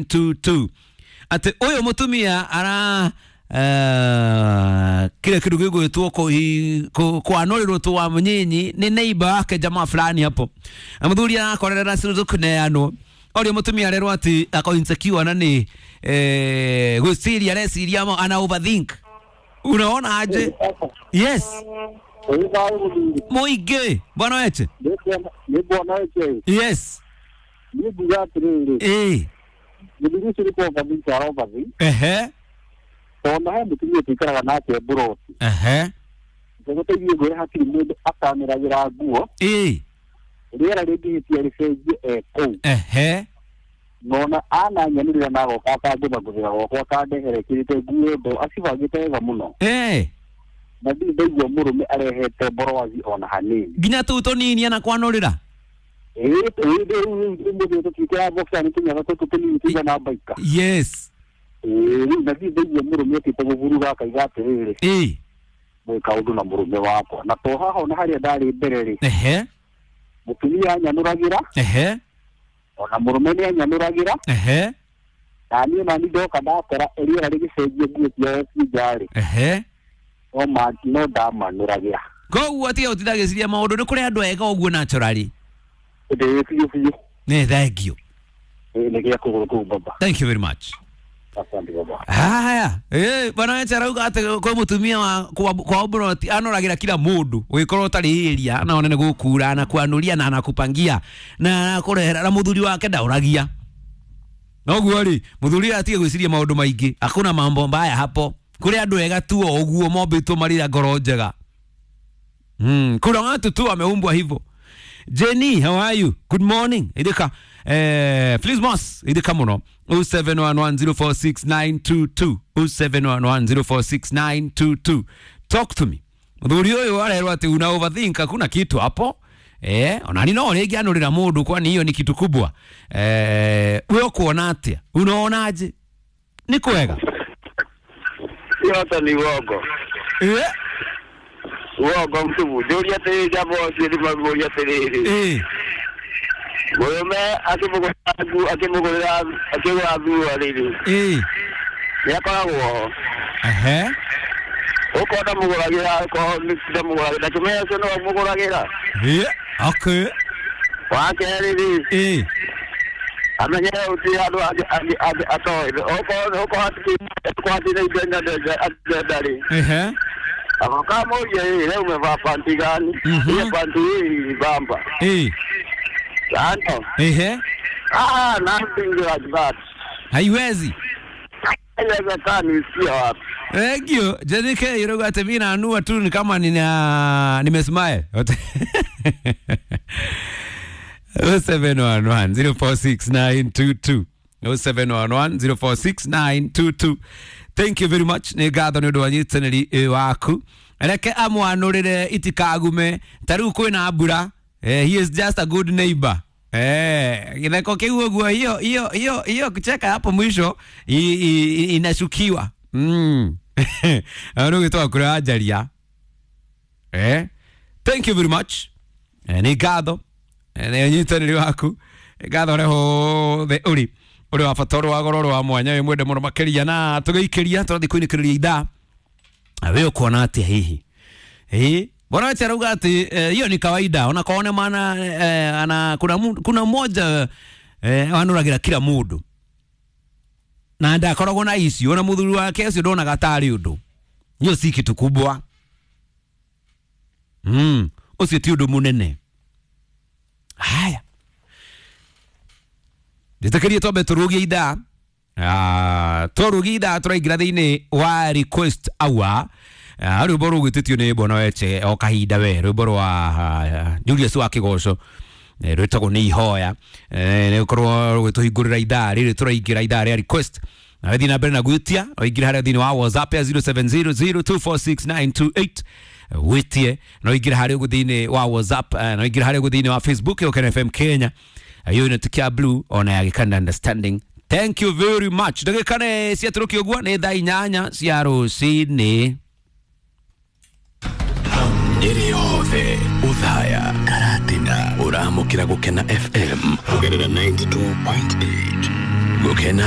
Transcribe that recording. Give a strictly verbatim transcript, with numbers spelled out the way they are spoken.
two two. Ati uyu mutumia ara uh, kile kindu gigwitwo kwanũrĩrwo twa mũnyinyi nĩ neighbor wake jamaa fulani hapo na mũthuri arakorerera ciru kuneanwo orio mutumia arerwo ati ako insecure na ni eh gwiciria areciria ama ana overthink. Unaona aje? Yes, muingi bwana weche nĩ bwana weche. Yes. Nĩ nguga atĩrĩrĩ, eh mũthuri ũcio nĩ kũ-overthink ara-overthink. Ehe. Tondũ he mũtumia tũikaraga nake mburoti. Ehe. Ngũgũteithie ngwĩre hatirĩ mũndũ atanĩragĩra nguo. Eh. Rĩera rĩngĩhĩtia rĩcenjie e kũu. Ehe. Nona ananyanĩrĩra na agoka akangũthangũthĩra gwakwa akandehera ĩkĩrĩte nguo ndo acibangĩte wega mũno. Eh. Na ndirĩ ndaigua mũrũme arehete mborowazi ona hanini. Nginya tũu tũnini anakwanũrĩra. Ĩĩ rĩu mũthĩ tũtiĩkĩraga boxer nĩ tũnyaga tũtũ tũnini tũigana mbaika. Yes. Ĩĩ rĩu na ndirĩ ndaigua mũrũme okĩte gũburuga akaiga atĩrĩrĩ, eh mwĩ kaũndũ na mũrũme wakwa. Na to haha ona harĩa ndarĩ mbere rĩ, ehe, mũtumia anyanũragĩra. Ehe. Ona mũrũme nĩ anyanũragĩra. Ehe. Na niĩ nani ndoka ndakora rĩera rĩgĩcenjia nguo ciao ci nja rĩ, ehe, no ma no ndamanũragĩra. Koguo atiga gũtindagĩciria maũndũ nĩ kũrĩ andũ ega ũguo naturally. Ĩĩ biũ biũ. Nĩ thank you. Ĩĩ nĩ gĩa kũgũrũ kũu baba. Thank you very much. Asante baba. Haya, eh bwana weche arauga atĩ kwĩ mũtumia wa kwa kwa mburoti anoragĩra kila mũndũ ũgĩkorwo ũtarĩ area na one nĩ gũkura na kwanũria na anakupangia na anakũrehera na mũthuri wake ndaũragia. Noguo rĩ mũthuri atige gwĩciria maũndũ maingĩ, hakuna mambo mbaya hapo. Kũrĩ andũ ega tu o ũguo mombĩtwo marĩ na ngoro njega. Mm, kuna watu tu wameumbwa hivyo. Jenny, how are you? Good morning. Idika eh please boss, idika muno. oh seven one one zero four six nine two two oh seven one one zero four six nine two two. Talk to me. Muthuri uyu arerwo ati una overthink, hakuna kitu hapo. Eh, onani no rĩngĩ anũrĩra mũndũ kwani hiyo ni kitu kubwa. Eh, wewe ukuona atia? Unaonaje? Ni kwega? Yote ni uongo. Eh? Uongo mtupu. Njũria atĩrĩrĩ jambo ũcio nĩ mamũria atĩrĩrĩ. Eh. Mũrũme akĩmũgũrĩra nguo akĩmũgũrĩra akĩgũra nguo rĩrĩ. Eh. Nĩ akoragwo ho. Ehe. Okorwo ndamũgũragĩra okorwo nĩ ndamũgũragĩra ndakĩmenya ũcio nĩwe ũmũgũragĩra. Eh. Okay. Wa kerĩ rĩ, Eh. amenye gũtirĩ handũ angĩ atoĩ. Okorwo okorwo hatirĩ indo angĩenda rĩ, Ehe. agoka amũrie ĩ leo umevaa panti gani? Mhm. Ile panti hii bamba. Eh. Ano. Ehe. Ah, nothing like that. Haiwezi. Haiwezekani, sio wapi. Thank you. Jenike yuruga ati mimi naanua tu ni kama nina nimesmile. oh seven one one zero four six nine two two oh seven one one zero four six nine two two. Thank you very much. Nĩ ngatho nĩ ũndũ wa nyitanĩri waku. Reke amwanũrĩre itikagume ta rĩu kwĩna mbura. Eh, he is just a good neighbor. Eh, githeko kiu ũguo hiyo hiyo hiyo hiyo kucheka hapo mwisho i, i, inashukiwa. Mm. Ano gitwa kura ajaria. Eh? Thank you very much. Eh, nĩ ngatho. Eh, nĩ nyitanĩri waku. Ngatho ũrĩa hothe ũrĩ. Ũrĩ wa bata, ũrĩ wa goro, ũrĩ wa mwanya, wĩ mwende mũno makĩria na tũgĩikĩria tũrathiĩ kũinĩkĩrĩria ithaa. Na we ũkuona atĩa hihi? Eh, bwana wetu arauga ati hiyo ni kawaida. Ona kaone maana eh, ana kuna kuna mmoja eh anuragira kila mundu. Na ndakoragwo na icio ona muthuri wake ucio ndonaga tarĩ ũndũ. Hiyo si kitu kubwa. Mm, ucio ti ũndũ mũnene. Haya. Ndĩtĩkĩrie twambe tũrũgie ithaa. Ah, tũrũgie ithaa tũraingĩra thĩinĩ wa request hour. Ah, rwĩmbo rũgwĩtĩtio nĩ bwana weche o kahinda we rwĩmbo rwa Julius wa Kĩgoco rwĩtagwo nĩ ihoya. Eh, nĩ gũkorwo rũgĩtũhingũrĩra ithaa rĩrĩ tũraingĩra ithaa rĩa request. Na wethiĩ na mbere na gwĩtia ũingĩre harĩa thĩinĩ wa WhatsApp ya zero seven zero zero two four six nine two eight wĩtie na ũingĩre harĩa ũguo thĩinĩ wa WhatsApp na ũingĩre harĩa ũguo thĩinĩ wa Facebook ya Ũkena F M Kenya hiyo inatukia blue ona ya Gikanda understanding. Thank you very much. Ndagĩka nĩ ciatũrũkio ũguo nĩ thaa inyanya cia rũcinĩ. Nyeri yothe uthaya Karatina uramukira Gukena F M kugerera ninety-two point eight. Gũkena.